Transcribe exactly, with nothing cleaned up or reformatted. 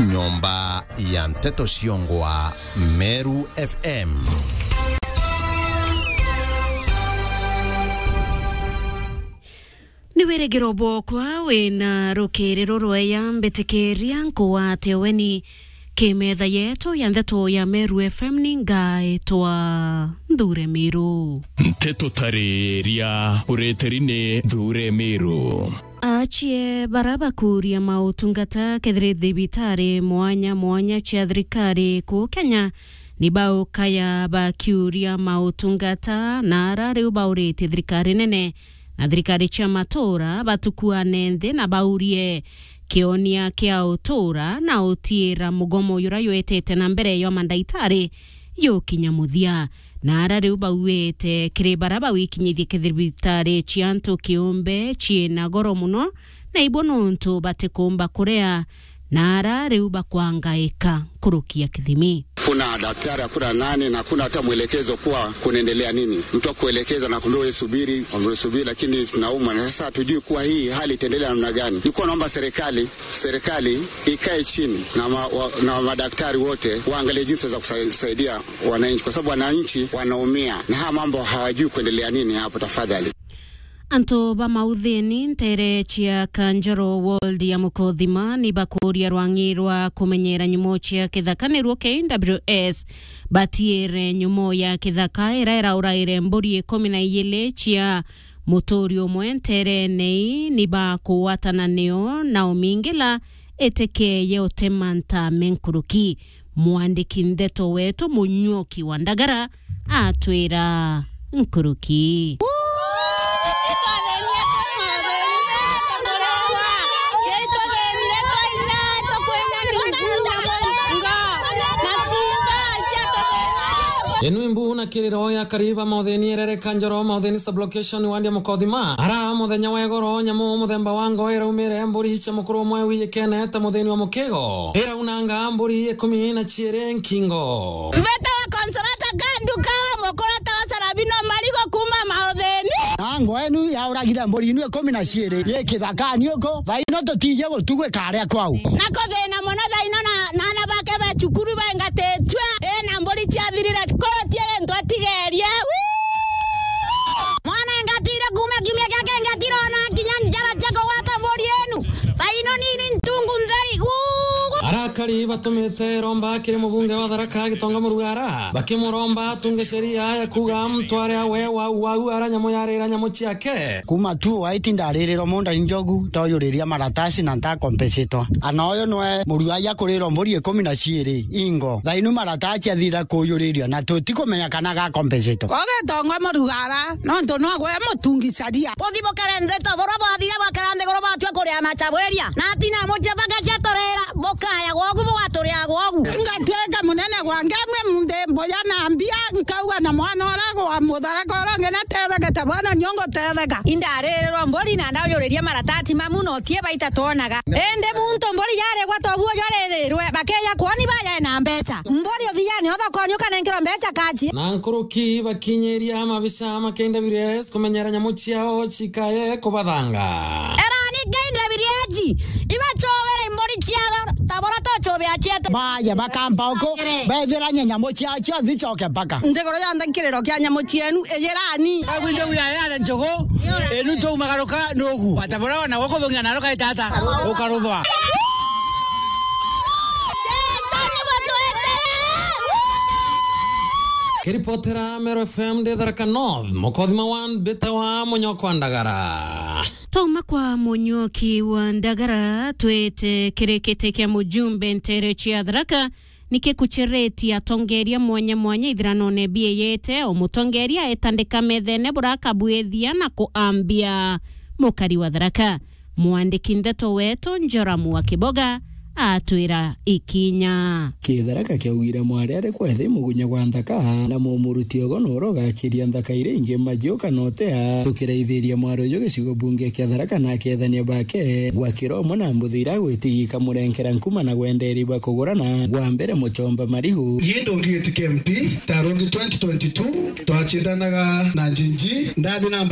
Nyomba ya nteto ciongwa Meru F M. Ni wirigiro bwokwa wina rukiri rurweya, mbitikiria nkugwate weni ki metha yetu ya nteto ya Meru F M, ni ngaitwa Nthure Miru. Nteto tariria uritiri ni Nthure Miru. Achie bara bakuria mautungata kethiri thibitari mwanya mwanya cia thirikari kuu Kenya ni baukaya bakiuria mautungata, na ara riu bauritie thirikari nene na thirikari cia matura batukuane nthi na baurie kionia kia utura na utiira mugomo jura jwetete na mbere jwa mandaitari jukinya muthia. Na ara riu bauite kiri bara bawikinyithie kithibitari cia antu kiumbe ciina goro muno, na ibo nuntu batikumba kuria, na ara riu bakwangaika nkuruki ya kithimi. Kuna daktari, hakuna nani, na hakuna hata mwelekezo kuwa kunaendelea nini. Mtu akuelekeza na kuambia, "Wewe subiri, wewe subiri," lakini tunaumwa. Na sasa hatujui kuwa hii hali itaendelea namna gani. Nilikuwa naomba serikali, serikali ikae chini na ma-, wa-, na madaktari wote waangalie jinsi za kusa-, kusaidia wananchi, kwa sababu wananchi wanaumia na haya mambo hawajui kuendelea nini hapo. Tafadhali. Antu ba mauthini ntere cia Kanjoro ward ya Mukothima ni bakuria rwang'i rwa kumenyera nyumo cia kithaka, niruo K W S, batiire nyumo ya kithaka ira irauraire mburi ikumi na ijiri cia muturi umwe nterene ii ni bakugwatana nio na umingila itikeye utema ntame nkuruki. Mwandiki ndeto wetu Munyuki wa Ndagara atwira nkuruki. Inu imbu na kiriro ya Kariba, Mautheni Erere, Kanjoro, Mautheni Sublocation, wandi ya Mukothima. Ara muthenya wa igoro, nyamu muthemba wa ngo iraumire mburi cia mukuru umwe wijikene ta muthini wa mukigo. Iraunanga mburi ikumi na ciiri nkingo. Mbeta wa Consolata Kanduka, mukurata wa Sarabino Marigo kuma Mautheni. Na ngo enu yauragire mburi inu ikumi na ciiri yi kithakani uku, thaino tutije gutugwika aria kwau. Na kuthina muno thaino na, na ana bake ba cukuru baingatitue, ina mburi ciathirire, kurutie gintu atigerie. Wuu! Mwana engatire kuuma kiumia kia kingi atirona kinya njara cia kugwata mburi inu. Thaino nini ntungu ntheri. Wuu! Arakari batumite romba kiri mubunge wa Tharaka Gitonga Murugara, bakimuromba atunge sheria ya kuuga mtware awe wau wau ara nyamu yarira nyamu ciake. Kuma tu waiti ndaririrwa munda ni njogu, toyuriria maratasi na ntakompesitwa. Ana uyu nwe muruaia kurirwa mburi ikumi na ciiri ingo. Thainu maratasi athira kuyuriria na tutikumenya kana gakompesitwa. Ugitonga Murugara, nontu nogwe mutungi caria. Buthibukire nthi ta burwa bwathire bwakira nthiguru bwatua kuria macabwiria. Na atina mucii bagacia turira. Bukaya gwogu, bugaturia gwogu. Ngatuika munene gwa ngemwe, munthi mbuya na mbia, nkauga na mwana uria gwa Mutharaka uria ungi natetheke ta bwana nio ngutetheka. Indaririrwa mburi na ndaujuriria maratati mamu na utie baita twonaga. Indi muntu mburi yarigwa toguo jwaririrwe, bakeja kwoni bajae na mbeca. Mburi uthiani uthokoni ukanenkerwa mbeca kaji. Na nkuruki bakinyiria mabisa ma K W S kumenyera nyamu ciao cikae kubathanga. Erani K W S, ibacobere mburi ciao, ta bora tocobea cietu. Baye bakamba uku, bethiranie nyamu ciao cionthe icoke mpaka. Nthiguru yonthe nkiriro kia nyamu cienu, ijirani. Bagwinje wiya yare njogo, enu tuumagaruka nugu. Bata bora ona gukuthugia na rukaita ata, ukaruthwa. Kiripotera Meru F M ndi Tharaka North, Mukothima one, mbitawa Munyoko wa Ndagara. Twauma kwa Munyuki wa Ndagara, twite kiri kiti kia mujumbe ntere cia Tharaka, niki kucheretie atongeria mwanya mwanya ithiranone bieyete, o mutongeria etandika methene burakabwithia na kuambia mukari wa Tharaka. Mwandiki ndeto wetu Njoramu wa Kiboga atwira ikinya. Kitharaka kiaugire mwari ari kwethi mugunya gwa nthaka, na mumuruti ogo noro ugakiria nthaka iria ingi majiu kana utea. Tukiraithiria mwari uyu gicigo bunge kia Tharaka na akethania bake, gwakira umwe na mbuthi ira gwitigia ikamurenkera nkuma na gwenderia bwa kugurana, gwa mbere muchomba marigu. Yii ndungigitikia M P, tarungi twenty twenty-two, twachindanaga na Njinji, ndathi na